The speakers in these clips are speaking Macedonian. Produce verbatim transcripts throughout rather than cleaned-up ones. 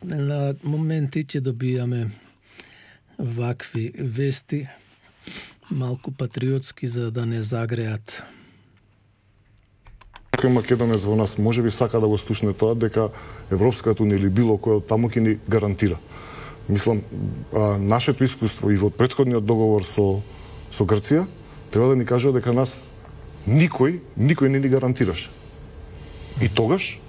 на моменти ќе добијаме вакви вести, малку патриотски, за да не загреат. Кој македонец во нас може би сака да го слушне тоа дека Европската унија или било кој од таму ќе ни гарантира. Мислам, а, нашето искуство и во претходниот договор со со Грција треба да ни кажува дека нас никој, никој не ни гарантираше. И тогаш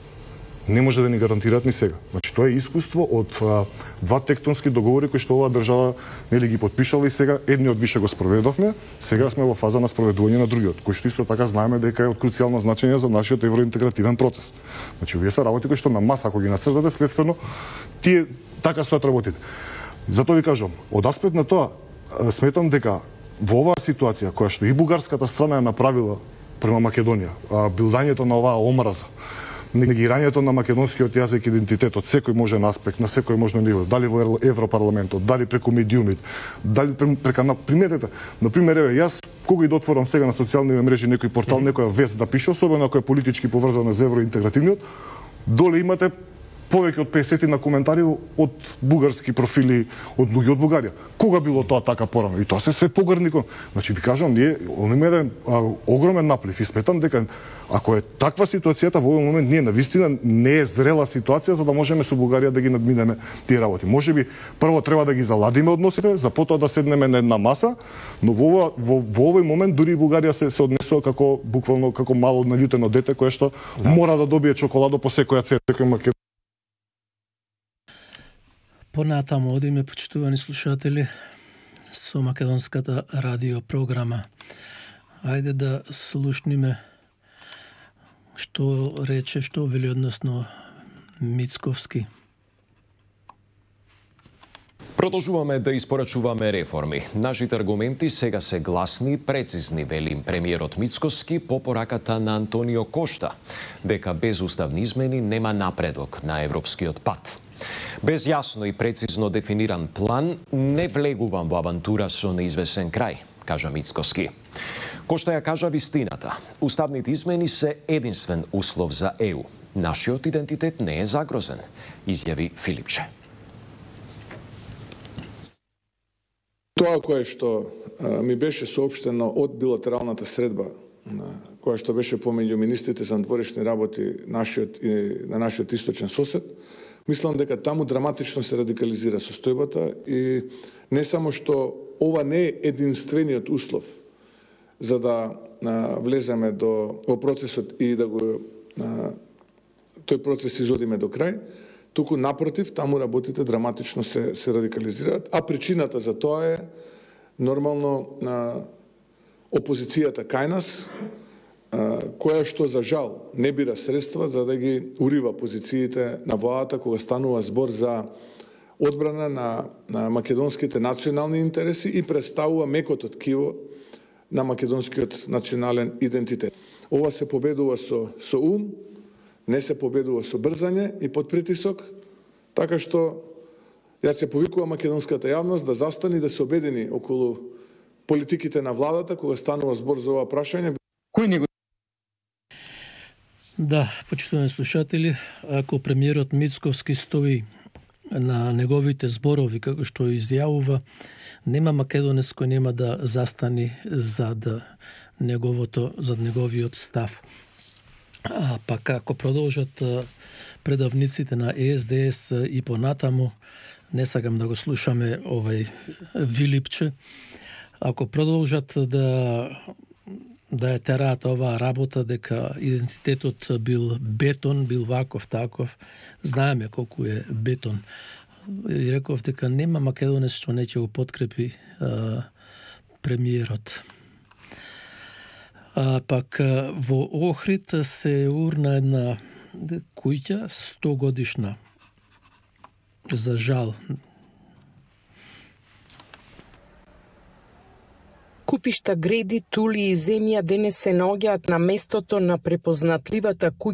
не може да ни гарантираат ни сега. Значи тоа е искуство од а, два тектонски договори кои што оваа држава нели ги подпишала и сега едниот више го спроведовме, сега сме во фаза на спроведување на другиот, кој што исто така знаеме дека е од круцијално значење за нашиот евроинтегративен процес. Значи овие се работи кои што на маса ако ги нацртате, следствено тие така стојат работите. Затоа ви кажам, од аспект на тоа сметам дека во оваа ситуација која што и бугарската страна е направила према Македонија, билдањето на оваа омраза, негирањето на македонскиот јазик и идентитет од секој можен аспект, на секој можно ниво, дали во Европарламентот, дали преку медиумит, дали прека на приметите. На пример, еве, јас кога и да отворам сега на социјални мрежи некој портал, некоја вест да пише, особено ако е политички поврзана за евроинтегративниот, доле имате повеќе од песет на коментари од бугарски профили, од луѓе од Бугарија. Кога било тоа така порано? И тоа се све погрникон. Значи ви кажам, ние имаме еден огромен наплив и сметам дека ако е таква ситуацијата во овој момент, ние навистина не е зрела ситуација за да можеме со Бугарија да ги надминеме тие работи. Можеби прво треба да ги заладиме односите, за потоа да седнеме на една маса, но во, во, во овој момент дури и Бугарија се се однесува како буквално како мало налютено дете кое што да. мора да добие чоколадо по секоја цена. Понатаму одиме, почитувани слушатели, со македонската радио програма. Ајде да слушниме што рече, што вели односно Мицковски. Продолжуваме да испорачуваме реформи. Нашите аргументи сега се гласни и прецизни, вели премиерот Мицковски по пораката на Антонио Кошта, дека без уставни измени нема напредок на европскиот пат. Без јасно и прецизно дефиниран план не влегувам во авантура со неизвесен крај, кажа Мицковски. Кошта ја кажа вистината. Уставните измени се единствен услов за Е У. Нашиот идентитет не е загрозен, изјави Филипче. Тоа кое што а, ми беше соопштено од билатералната средба, на, која што беше помеѓу министрите за надворешни работи нашиот, и, на нашиот источен сосед, мислам дека таму драматично се радикализира состојбата и не само што ова не е единствениот услов за да а, влеземе до во процесот и да го а, тој процес изодиме до крај, туку напротив, таму работите драматично се, се радикализираат, а причината за тоа е нормално а, опозицијата кај нас, а, која што за жал не бира средства за да ги урива позициите на владата кога станува збор за одбрана на, на македонските национални интереси и представува мекото ткиво на македонскиот национален идентитет. Ова се победува со, со ум, не се победува со брзање и под притисок, така што јас се повикувам македонската јавност да застани и да се обедини околу политиките на владата кога станува збор за ова прашање. Кој не го... Да, почитувани слушатели, ако премиерот Мицковски стои на неговите зборови како што изјавува, нема македонец кој нема да застани зад неговото, зад неговиот став. А пак ако продолжат предавниците на Е Ес Де Ес и понатаму, не сакам да го слушаме овај Вилипче, ако продолжат да да ја тераат оваа работа дека идентитетот бил бетон, бил ваков таков, знаеме колку е бетон. И реков дека нема македонец што не ќе го подкрепи а, премиерот. А, пак во Охрид се урна една куќа сто годишна. За жал. Купишта, греди, тули и земја денес се наоѓаат на местото на препознатливата куќа